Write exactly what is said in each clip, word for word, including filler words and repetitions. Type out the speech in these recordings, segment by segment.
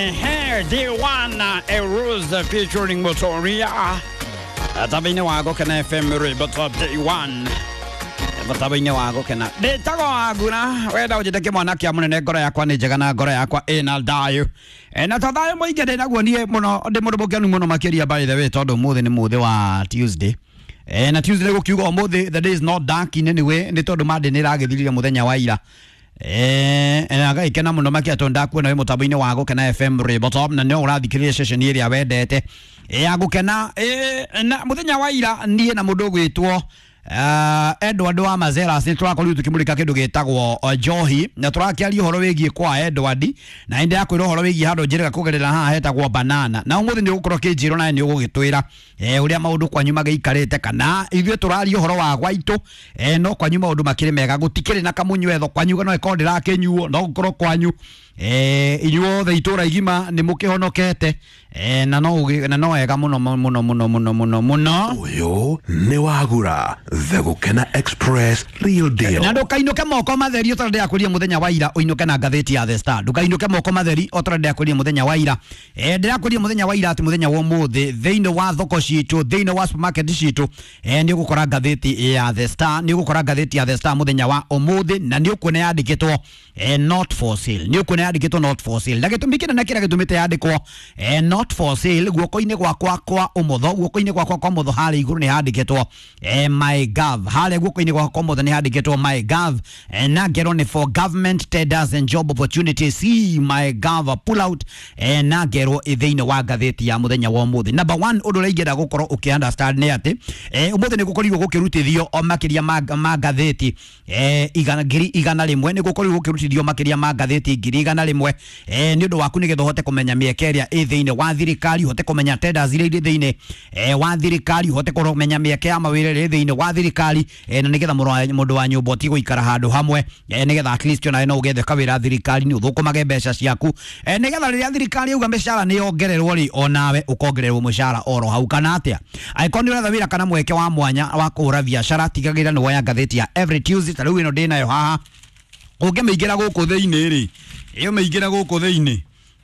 Ehe, D one Erose featuring Motoria. Tabaine wa Gukena F M Rwimbo Top D one. Tabaine wa Gukena. Ndĩtagwo Wangura, wenda ũnjĩte kĩmwana kĩa mũnene, ngoro yakwa nĩ njega na ngoro yakwa ĩna thayũ. Na to thayũ mũingĩ ndĩ naguo niĩ mũno, ndĩ mũndũ mũkenu mũno makĩria by the way, tondũ ũmũthĩ nĩ mũthĩ wa Tuesday. Eh, na Tuesday gũkiuga ũmũthĩ the day is not dark in any way, nĩ tondũ Monday nĩ ĩragĩthirire mũthenya wa ira. Eh, na ngaikena mũno makĩria tondũ ndakuona wĩ mũtambo-inĩ wa Gukena F M Rwimbo Top, na no ũrathikĩrĩria ceceni ĩrĩa wendete ya Gukena. Eh, na mũthenya wa ira niĩ na mũndũ ũgwĩtwo Uh, Edward wa Mazeras nĩ tũrakorirwo tũkĩmũrĩka kĩndũ gĩtagwo uh, njohi, na tũrakĩaria ũhoro wĩgiĩ kwa Edward, na ĩndĩ yakwĩra ũhoro wĩgiĩ handũ njĩrĩga kũgerera haha hetagwo banana, na ũmũthĩ nĩ ũgũkorwo kĩnjĩrwo nawe nĩ ũgũgĩtwĩra eh, ũrĩa maũndũ kwanyu magĩikarĩte, kana ithuĩ tũraria ũhoro wa gwaitũ eh, no kwanyu maũndũ makĩrĩ mega, gũtikĩrĩ na kamũnyuetho kwanyu, no ĩkorwo ndĩrakĩnyuo, no gũkorwo kwanyu eh, inyuothe itũra igima nĩ mũkĩhonokete eh, na no na no wega mũno mũno mũno mũno mũno mũno. Ũyũ nĩ Wagura The Gukena Express Real Deal. Na ndũkainũke moko matheri o ta ndĩrakwĩrire mũthenya wa ira, ũinũke na ngathĩti ya The Star. Ndũkainũke moko matheri o ta ndĩrakwĩrire mũthenya wa ira. Eh, ndĩrakwĩrire mũthenya wa ira atĩ mũthenya wa ũmũthĩ thĩinĩ wa thoko citũ, thĩinĩ wa supermarket citũ, eh, nĩ ũgũkora ngathĩti ya The Star, nĩ ũgũkora ngathĩti ya The Star mũthenya wa ũmũthĩ, na nĩ ũkuona yandĩkĩtwo eh, not for sale. Nĩ ũkuona yandĩkĩtwo not for sale. Na gĩtũmi kĩnene kĩrĩa gĩtũmĩte yandĩkwo eh, not for sale, guoko-inĩ gwakwa kwa ũmotho, guoko-inĩ gwakwa kwa ũmotho harĩa igũrũ nĩ handĩkĩtwo eh, my gov, harĩa guoko-inĩ gwakwa kwa ũmotho nĩ handĩkĩtwo my gov, eh, na ngerwo nĩ for government tenders and job opportunities, see my gov pull out, eh, na ngerwo thĩinĩ wa ngathĩti ya mũthenya wa ũmũthĩ. Number one, ũndũ ũrĩa ingĩenda gũkorwo ũkĩ understand nĩ atĩ eh, ũmũthĩ nĩ gũkorirwo gũkĩrutithio o makĩria ma, ma ngathĩti eh, igana, ngiri igana rĩmwe, nĩ gũkorirwo gũkĩrutithio makĩria ma ngathĩti ngiri igana rĩmwe eh, nĩ ũndũ waku nĩgetha ũhote kũmenya mĩeke ĩrĩa ĩ thĩinĩ wa thirikari, ũhote kũmenya tenders iria irĩ thĩinĩ eh, wa thirikari, ũhote kũmenya mĩeke ya mawĩra ĩrĩa ĩ thĩinĩ wa thirikari eh, na nĩgetha mũndũ wa nyũmba ũtige gũikara handũ hamwe eh, nĩgetha at least onawe no ũgethe kawĩra thirikari-inĩ ũthũkũmage mbeca ciaku eh, nĩgetha rĩrĩa thirikari yauga mĩcara nĩ yongererwo rĩ, onawe ũkongererwo mũcara oro hau, kana atĩa? Angĩkorwo nĩ ũretha wĩra kana mweke wa mwanya wa kũhũra biacara, tigagĩrĩra nĩ woya ngathĩti ya every Tuesday. Ta rĩu ĩno ndĩnayo haha, ũngĩmĩingĩra gũkũ thĩinĩ rĩ, ĩyo mĩingĩra gũkũ thĩinĩ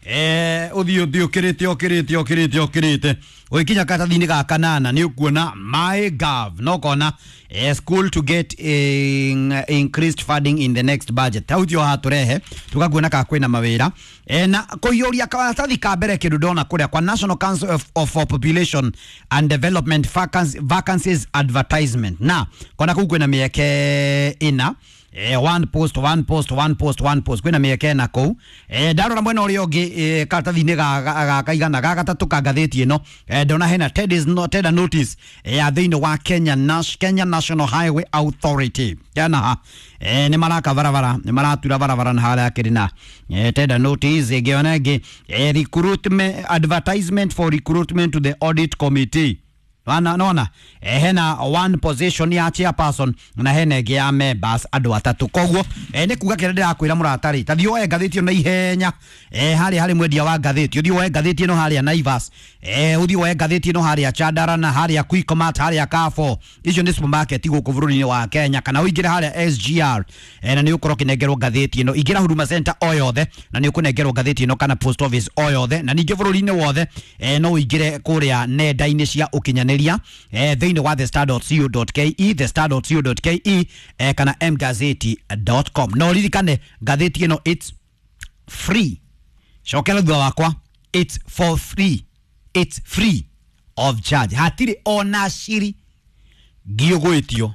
eh ũthiĩ ũthiĩ ũkĩrĩte ũkĩrĩte ũkĩrĩte ũkĩrĩte ũgĩkinya karatathi-inĩ ga kanana nĩ ũkuona my gov, no ũkona eh, school to get in, increased funding in the next budget. Hau tio hatũrehe tũgakuona ka kwĩna mawĩra eh, na kũiyũria karatathi ka mbere kĩndũ ndona kũrĩa kwa National Council of, of Population and Development vacancies, vacancies advertisement, na kona kũu kwĩna mĩeke ĩna eh, one post one post one post one post, kwĩna mĩeke ĩna kũu. eh, ndarora mwena ũrĩa ũngĩ eh, karatathi-inĩ ga ga kaigana ga gatatũ ka ngathĩti ĩno eh, ndona hena tenders no, tender notice eh, ya thĩinĩ wa Kenya, Nash, Kenya National Highway Authority kana ha eh, nĩ maraka barabara, nĩ maratura barabara na harĩa kĩrĩ na eh, tender notice ĩngĩ ona ĩngĩ eh, recruitment advertisement for recruitment to the audit committee. Wana nona eh, hena one position ya chairperson na hena ĩngĩ ya members andũ atatũ. Koguo eh, nĩ kuga kĩrĩa ndĩrakwĩra mũrata rĩ, ta thiĩ woe ngathĩti ĩno na ihenya eh, harĩa harĩ mwendia wa ngathĩti, ũthiĩ woe ngathĩti ĩno harĩa Naivas, eh, ũthiĩ woe ngathĩti ĩno harĩa Chandara na harĩa Quickmart, harĩa Carrefour, icio nĩ supermarket gũkũ bũrũri-inĩ wa Kenya, kana ũingĩre harĩa S G R eh, na nĩ ũkorwo ũkĩnengerwo ngathĩti ĩno. Ingĩra Huduma Center o yothe na nĩ ũkũnengerwo ngathĩti ĩno, kana post office o yothe, na ningĩ bũrũri-inĩ wothe eh, no ũingĩre kũrĩa nenda-inĩ cia ũkinyanĩria eh, thĩinĩ wa the star dot co dot ke, the star dot co dot ke eh, kana m gazeti dot com. No ririkane ngathĩti ĩno it's free, cokera thutha wakwa, it's for free, it's free of charge, hatirĩ ona ciri ngiũgwĩtio.